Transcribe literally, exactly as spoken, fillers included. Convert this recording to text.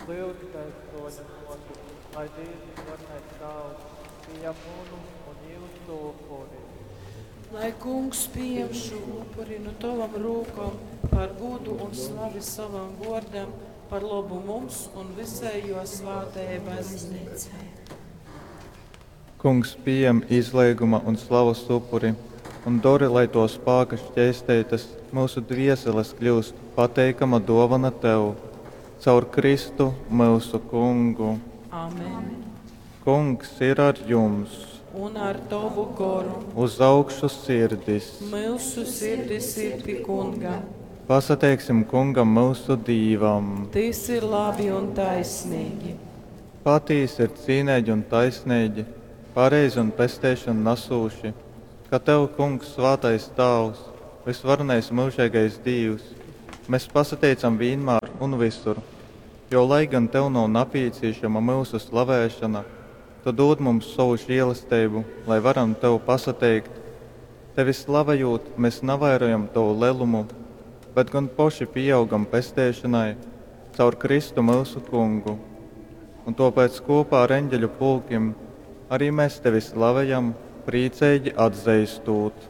Lyudzu Tevi, troņa muote, lai Dievs visvarenais Tāvs pieņem munu un jūsu upuri. Lai kungs pieņem šo upuri no tavam rūkom par godu un slavi savam vārdam, par labu mums un visai jo svētajai baznīcai. Kungs pījem izleiguma un slavas upuri un dori, lai tō spāka škeisteitas myusu dvieseles kļyust pateikama dōvona Tev. Caur Kristu, myusu Kungu. Amen. Kungs ir ar jums! Un ar tovu goru. Uz augšu sirdis! Myusu sirdis ir pi kunga. Pasateiksim Kungam myusu Dīvam! Tys ir labi un taisnīgi. Patīsi ir cīneigi un taisneigi, pareizi un pesteišonu nasūši, ka Tev, Kungs, svātais Tāvs, vysvarenais myužeigais Dīvs, mes pasateicam vīnmār un vysur, jo, lai gan Tev nav napīcīšama myusu slavēšona, Tu dūd mums sovu želesteibu, lai varam Tev pasateikt. Tevi slavejūt, mes navairojam Tovu lelumu, bet gon poši pīaugam pesteišonai caur Kristu myusu Kungu. Un tōpēc kūpā ar eņģeļu pulkim ari mes Tevi slavejam, prīceigi atzeistūt.